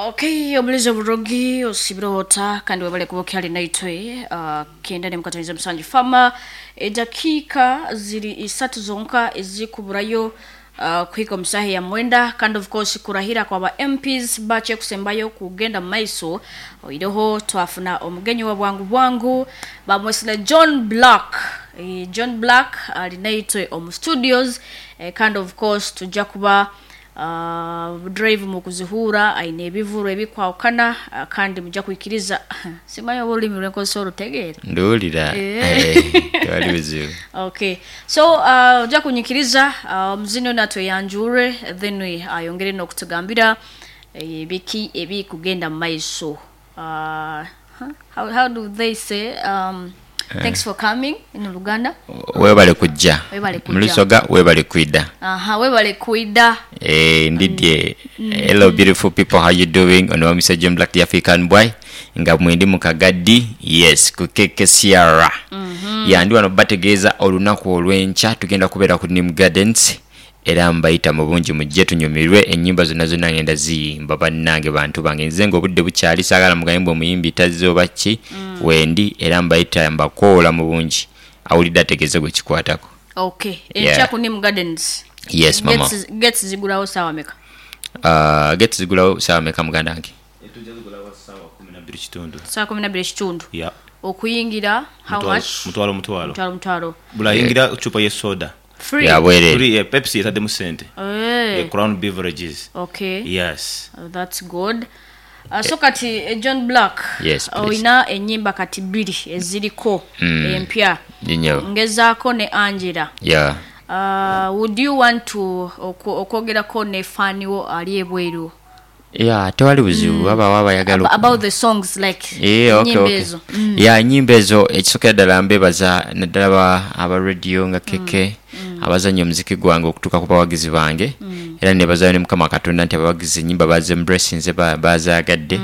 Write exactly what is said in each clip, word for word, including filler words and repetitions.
Okay, obulizi oburogi osibirota kandi webale kuba okyali naitwe uh, kenda nemukataniza musanju fama edakiika ziri isatu zonka ezikuburayo uh, kuhika omusaha ya mwenda. Kandi of course kurahira kwa ba M Ps bache kusembayo kugenda mu maiso oireho twafuna omugenyi wa bwangu bwangu bamwesile John Black. e, John Black ali naitwe omu studios. e, kandi of course tujja kuba uh, drive mu kuzihura aine ebivuro ebikwawukana, uh, kandi mujja kwikiriza simanyi oba olulimi lwenkozesa olutegeera. Nduwulira. Eh. Eh, tewali buzibu. Okay, so uh, ojja kunyikiriza uh, omuzini ono atweyanjure, then ayongere n'okutugambira eh, biki ebikugenda mu maiso. uh, huh? how, how do they say um, thanks for coming in Luganda? Webale kujja. Webale kujja. Mulusoga webale kwida. Aha, webale kwida. Eh, ndidye. Hello beautiful people, how you doing? Ono wa Mister John Black, the African boy, nga mwendi mu Kagadi, yes, ku K K C R. Ya, ndi wano bategeeza olunaku olw'enkya tugenda kubeera ku Nim Gardens, era mbayita mu bungi mujje tunyumirwe. Ennyimba zonna zonna ngenda ziyimba. Bannange, bantu bange, nze nga obudde bukyali, saagala mugambe mbu omuyimbi tazze oba ki. Wendi era mbayita, mbakoola mu bungi. Awulidde ategeeze gwe kikwatako. Okay. Yeah. Enkya ku Nim Gardens. Yes, mama. Gates- gates zigulawo saawa meka? uh, gates zigulawo saawa meka, muganda wange? Tujja zigulawo ssaawa kumi nabbiri kitundu. Saawa kumi nabbiri ekitundu. Ya. Okuyingira how Mutwalo- much? Mutwalo mutwalo. Mutwalo mutwalo. Bulayingira cupa y'esoda. Free? Ya bwereere. Free, eh, Pepsi etaddemu sente. Eh, Eh, Crown Beverages. Okay. Yes. Uh, that's good. Uh, so kati eh, John Black, Yes, please. olina ennyimba kati bbiri eziriko empya, Nnyo. Ngezaako ne Angela. Yeah. uh, would you want to oku- okwogerako ne fan wo ali ebweru? Yeah, tewali buzibu, wabaawo abayagala Ab- about the songs, like Eh, okay, ennyimba okay. ezo. Ya, ennyimba ezo, ekisookera ddala mbebaza naddala ba- aba radio nga Keke abazanya omuziki gwange okutuuka ku bawagizi bange, era nebazayo ne Mukama Katonda nti abawagizi ennyimba bazembracinze, bazaagadde.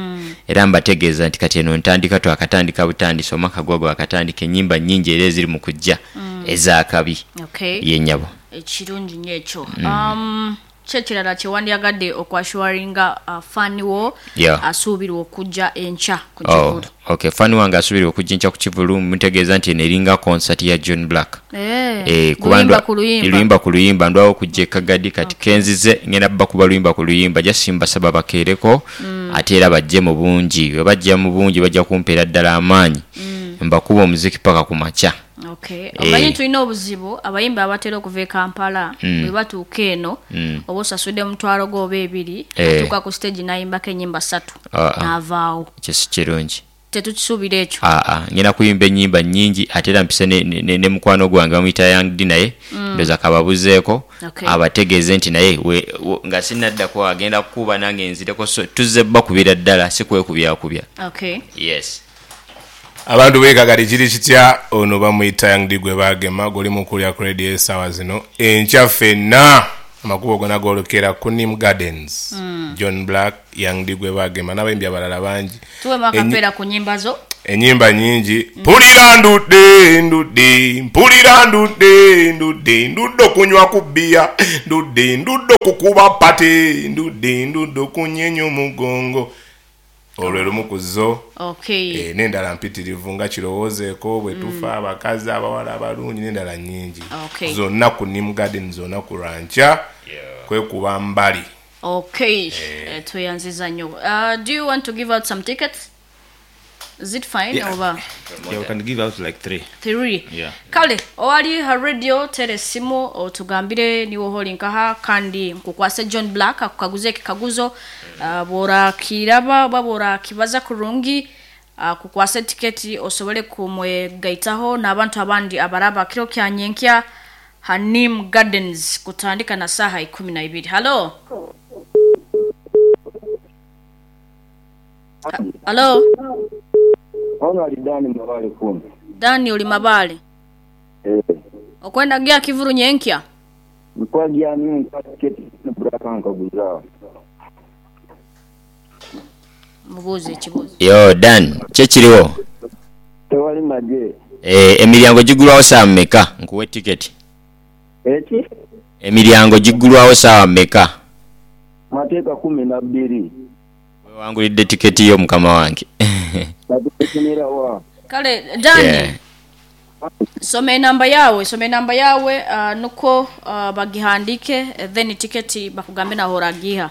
Era mbategeeza nti kati eno ntandika, twakatandika butandisi, omwaka gwa gwakatandika, ennyimba nnyingi era eziri mu kujja ezakabi. Okay. Yenyabo. Ekirungi nnyo ekyo. um, kyekirala kyewandyagadde okwassuringa uh, fan wo Yeah. asuubirwa okujja enkya ku Oh, kivulu? okay, fan wange asuubirwa okujja enkya ku kivulu, mutegeeza nti eno eringa concert ya John Black. Eh, Eh, kuba luyimba ndwa- ku luyimba. Luyimba ku luyimba. Ndwawo okujja ekagadi kati kenzize ngenda bba kuba luyimba ku luyimba. Just mbasaba bakeereko, ate era bajje mu bungi. Bwe bajja mu bungi bajja kumpeera ddala amaanyi, mbakuba omuziki paka ku makya. Okay. Eh. Omanyi tulina obuzibu, abayimbi abatera okuva e Kampala bwe batuuka eno, oba osasudde omutwalo gwo oba ebiri, Eh. atuuka ku stage n'ayimbako ennyimba ssatu Ah, ah. n'avaawo. Ekyo si kirungi. Tetukisuubira ekyo. Aa, ngenda kuyimba ennyimba nnyingi, ate era mpise ne, ne, ne, ne mukwano gwange bamuyita Young D, naye ndowooza kababuzeeko Okay. abategeeze nti naye we- we- nga sinaddako agenda kukuba nange nzireko, so tuzze bakubira ddala, si kwekubyakubya. Okay. Yes. Abantu beekagadi, kiri kitya? Ono bamuyita Young D gwe bagema guli mukulya ku radio essaawa zino. Enkya ffenna amakubo gona goolekera ku Nim Gardens. John Black, Young D gwe bagema n'abayimbi abalala bangi. Tuwemu akapeera ku nnyimba zo. Enyimba nyingi. Mpulira ndudde, ndudde, mpulira ndudde, ndudde, ndudde okunywa ku bbiya, ndudde, ndudde okukuba party, ndudde, ndudde okunyenya omugongo. Olwo lumu ku zo. Okay. Eh, n'endala mpitirivu nga kirowoozeeko, bwe tufa, abakazi, abawala abalungi, n'endala nnyingi. Okay. Zonna ku Nim Garden, zonna ku lwankya kwekuba mbali. Okay. Eh, tweyanziza nnyo. uh, do you want to give out some tickets? Is it fine? Yeah. Oba Yeah, we can give out like three. Three. Yeah. Kale owali ha radio, tera essimu otugambire niwe holi nkaha, kandi nkukwase John Black akukaguze ekikaguzo. uh, bworakiraba oba bworakibaza kurungi, uh, kukwasa tiketi osobole kumwegaitaho n'abantu abandi abaraba kiro kya nyenkya Hanim Gardens kutandika na saha ikumi na ibiri. Halo? Ha- halo? Ono ali Dani Mabale kumi. Dani oli Mabale? Eh, Okwenda gya kivuru nyenkya? Mkwagi ani nkwa tiketi Black nkaguza. Mubuuze ekibuuzo. Yo Dan, kyekiriwo? Tewali maje. Eh, emiryango gigulwawo saawa mmeka nkuwe tiketi? Eki? Emiryango giggulwawo saawa mmeka? Mateeka kumi na bbiri. Wangulidde tiketi yo mukama wange. Kati wa. Kale Dani. Yeah. Soma enamba yawe, soma enamba yawe uh, nuko uh, bagihandike then tiketi bakugambe naho oragiha.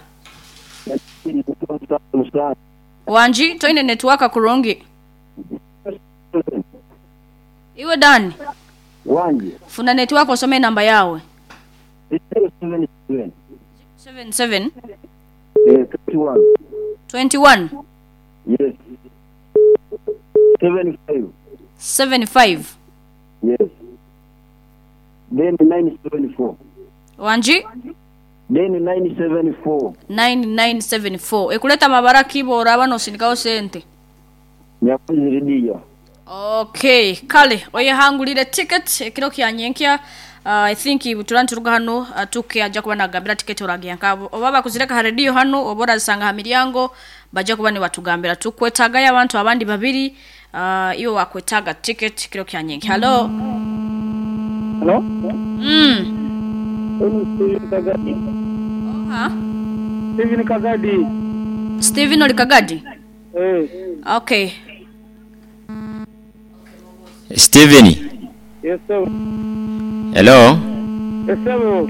Wanji toine network kurungi. Iwe Dani. Wanji. Funa network osome enamba yawe. Zero seven seven. seven seven Eh, twenty-one. twenty-one Yes. Seven five. seven five. Yes. Then nine seven four. Wanji Then nine seven four. nine nine seven four. Ekuleta mabara kibo oraba nosindikaho sente. Nyakuzi Lidia. Okay, kale oyehangulire ticket ekiro kya nyenkya. Uh, I think turanturuga hano uh, tuke aja kuba nagambira ticket oragiya nkabo oba bakuzireka ha radio hano oba orazisanga ha miryango baja kuba ni batugambira tukwetagayo abantu abandi babiri uh, iyo wakwetaga ticket kiro kya nyenkya. Hello. Hello? Mm. Steven Kagadi. Oha. Steven Kagadi. Steven Olikagadi. Eh. Okay. Steven. Yes sir. Hello. Yes sir.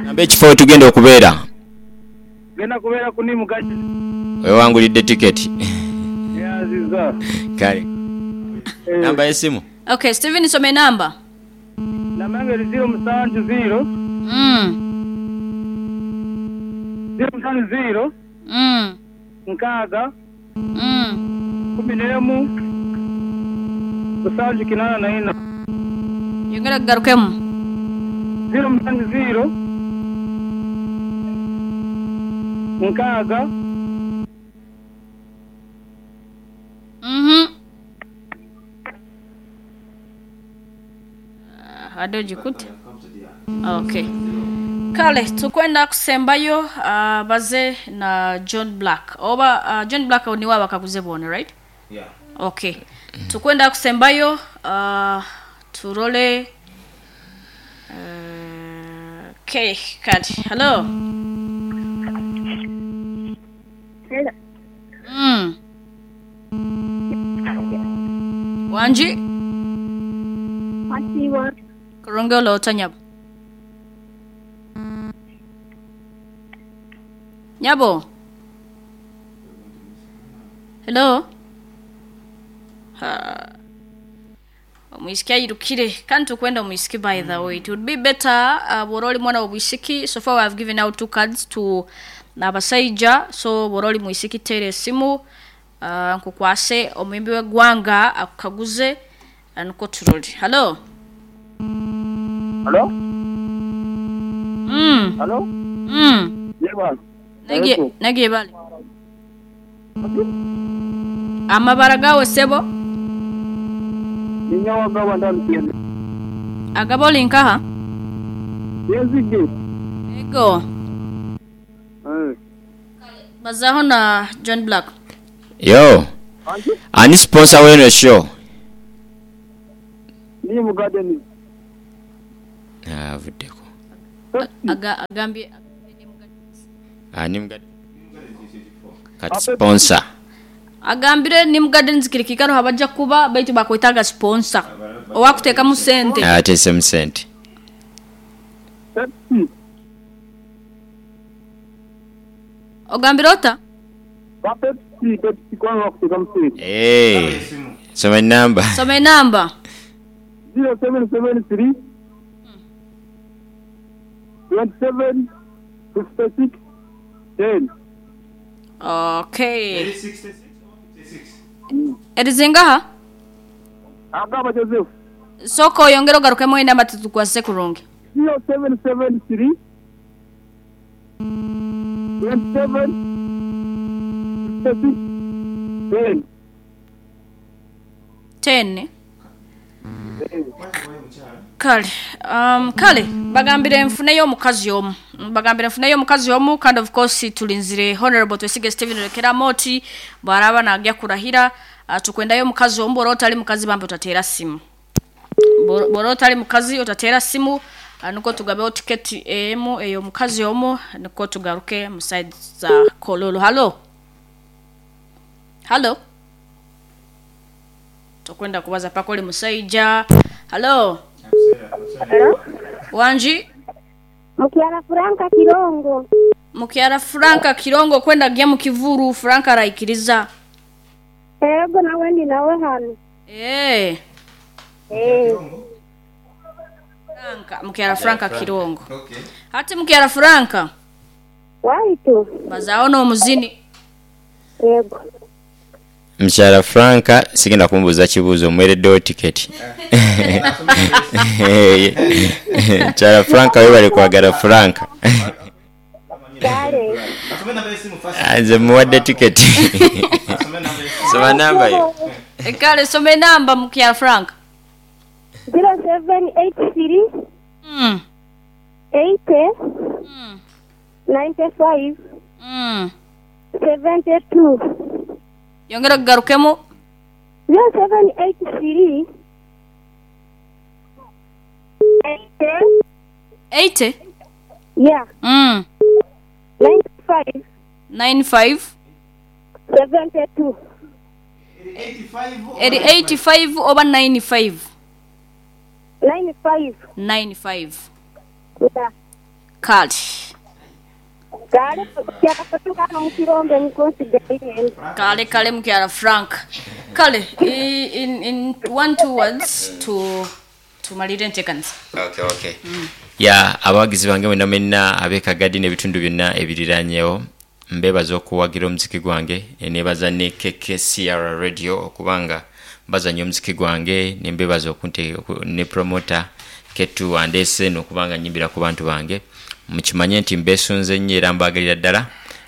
Namba ekifo tugenda okubeera. Genda kubeera ku Nimu Gardens. Wewangulidde tiketi. Yaziza. Kale. Namba y'essimu. Okay, Steven soma enamba. Namba yange eri zero musanju zero. Mm. Zero musanju zero. Mm. Nkaaga. Mm. Kumi n'emu. Musanju kinaana na ina. Yongera kugarukemu. Zero musanju zero. Nkaaga. Mhm. Uh, ado jikute. Okay. Kale tukwenda kusembayo uh, baze na John Black. Oba uh, John Black ni waba kaguze bone, right? Yeah. Okay. Tukwenda kusembayo uh, turole uh, okay, kale. Hello. Hello. Mm. Wanji Asiwa. kurungi olota nyabo. Nyabo. Hello. Ha. Omwisiki ayirukire kandi tukwenda omwisiki by the way. It would be better uh, bw'oba oli mwana w'obwisiki. So far we have given out two cards to abasaija, so bw'oba oli mwisiki teera esimu uh, nkukwase omuyimbi w'eggwanga akukaguze uh, niko turole. Hello. Hello? Mm. Hello? Mm. Yeba. Nagiye nagiye bale. Amabara gawe sebo Ninyawagaba ndamutende. agaba oli nkaha? Yezige. Ego. Eh. Bazaho na John Black. Yo. Wanji? Ani sponsor w'eno show? Nimu Gardens. Ah, avuddeko. Aga agambye Ani mga kati sponsor. agambire Nimu Gardens kiri kikaro habajja kuba baitu bakwetaga sponsor owakuteekamu sente. Ateesemu sente. Pepsi. Ogambire ota? Ba Pepsi, Pepsi kwanza wakuteekamu sente. Eh. Soma enamba. Soma enamba. Zero seven seven three. Twenty-seven, fifty-six, ten. Okay. Erizingaha? Agaba Joseph. Soko oyongera ogarukemu enamba tutukwase kurungi. Zero seven seven three. Twenty-seven, fifty-six, ten. Ten. Kale, um, kale bagambire nfuneyo omukazi omu. Bagambire nfuneyo omukazi omu kandi of course tulinzire Honorable Twesige Steven Rekera Moti bwaraba nagya kurahira uh, tukwendayo omukazi omu bw'oba otali mukazi bambi otateera simu. Bw'oba otali mukazi otateera simu Ah, niko tugabeho tiketi emu ey'omukazi omu, niko tugaruke mu side za Kololo. Halo, halo, tokwenda kubaza paka oli musaija. Halo. Hello? Wanji. Mukyala Franka Kirongo. Mukyala Franka Kirongo kwenda gya mu kivuru. Franka araikiriza. Ego nawe ndi nawe hano. Eh. Eh. Franka, Mukyala Franka Kirongo. Okay. Hati Mukyala Franka. Waitu. Bazao no muzini. Ego. Mukyala Franka sigenda kumubuuza kibuuzo, mwereddewo tiketi. Mukyala Franka webale kwagala Franka. Kale. Nze muwadde tiketi. Soma namba yo. Kale soma enamba Mukyala Franka. zero seven eight three Mm. eight Mm. ninety-five Mm. seventy-two. Yongera kugarukemu. zero seven eight three eight eighty. Yeah. Mm. ninety-five ninety-five seventy-two. Eri eighty-five oba ninety-five? ninety-five. ninety-five. Yeah. Kale. Kale kyakatukana mu kirombe mukonsiderire. Kale kale Mukyala Frank. Kale in in one two words to tumalire enteekaniza. Okay, okay. Mm. Ya abawagizi bange mwenna mwenna ab'e Kagadi n'ebitundu byonna ebiriranyewo, mbebaza okuwagira omuziki gwange, nebaza ne K K C R Radio okubanga bazanya omuziki gwange, nembebaza okunte ne promoter Ketu andese n'okubanga nyimbira ku bantu bange. Mukimanye nti mbesunze nnyo era mbagalira ddala.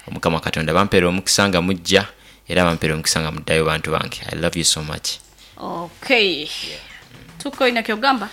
Omukama Katonda bampeera omukisa nga mujja, era bampeera omukisa nga muddayo bantu bange. I love you so much. Okay. Tuko ina kyogamba.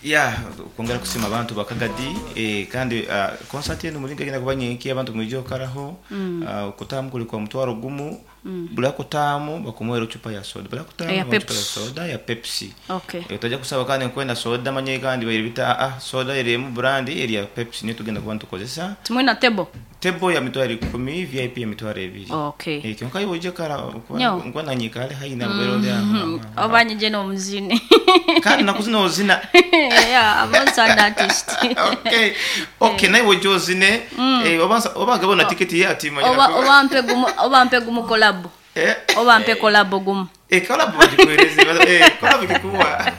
Ya, kwongera kusima abantu bakagadi, eh, kandi uh, concert eno mulinga genda kuba nyenki abantu mwijjo okaraho. mm. uh, kutamu kuli kwa mutwaro gumu. mm. Bula kutamu bakumwera chupa ya soda, bula kutamu ya bamuwa chupa ya Pepsi. Soda ya Pepsi. Okay. Eh, tojja kusaba kandi nkwenda soda manye kandi bayiribita ah soda erimu brand eri ya Pepsi niyo tugenda kuba ntukozesa. Tumwina tebo. Tebo ya mitwaro ikumi, V I P ya mitwaro ebiri. Okay. Eh, kyonka iwe ojja kara Nyo. nkuba nanyikale hayi na mm. Oba nyije n'omuzini. Kandi nakuzina ozina. Yeah, I'm also an artist. okay okay naye ojja ozine, eh, oba oba gabona tiketi ye ati manya. Oba oba mpe gumu, oba mpe gumu collab. Eh. Oba mpe collab gumu. Eh, collab bagikuhereze, eh, collab gikuwa.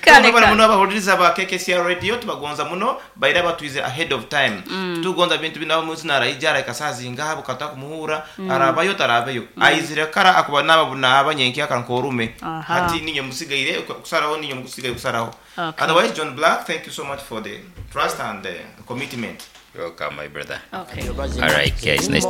Kale, kale kale. Muno abahuliriza ba K K C R Radio tubagonza muno, baira batwize ahead of time. mm. Tugonza bintu bino muzina araija arakasazinga bukata kumuhura, mm. arabayo tarabayo, mm. aizire kara akuba naba bunaba nyenki akankorume. Aha. Hati ninyo musigaire kusaraho, ninyo musigaire kusaraho. Okay. Otherwise, John Black, thank you so much for the trust and the commitment. Welcome, my brother. Okay. All right guys, nice.